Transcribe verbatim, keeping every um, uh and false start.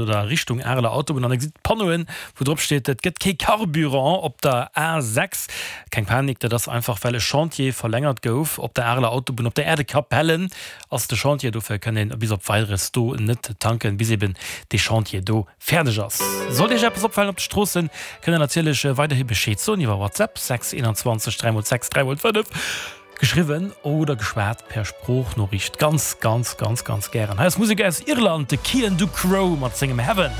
Oder Richtung Areler Autobunn an der gesitt Panneauen, wou drop steet, et gëtt kee Carburant op der A sechs. Keng Panik, dat ass einfach well e Chantier verlängert gouf op der Areler Autobunn. Op der Aire de Capellen ass de Chantier, dofir kënnt een bis op Weideres do net tanken, bis eben dee Chantier do fäerdeg ass. Sollt Iech eppes opfalen op de Stroossen, kënnt der natierlech weiderhi Bescheed soen iwwer WhatsApp, sechs eenanzwanzeg dräi mol sechs dräi mol fënnef. Geschriwwen oder geschwat per Sproochnoriicht ganz, ganz, ganz, ganz gären. Hei ass Musek aus Irland, de Cian Ducrot mat sengem Heaven.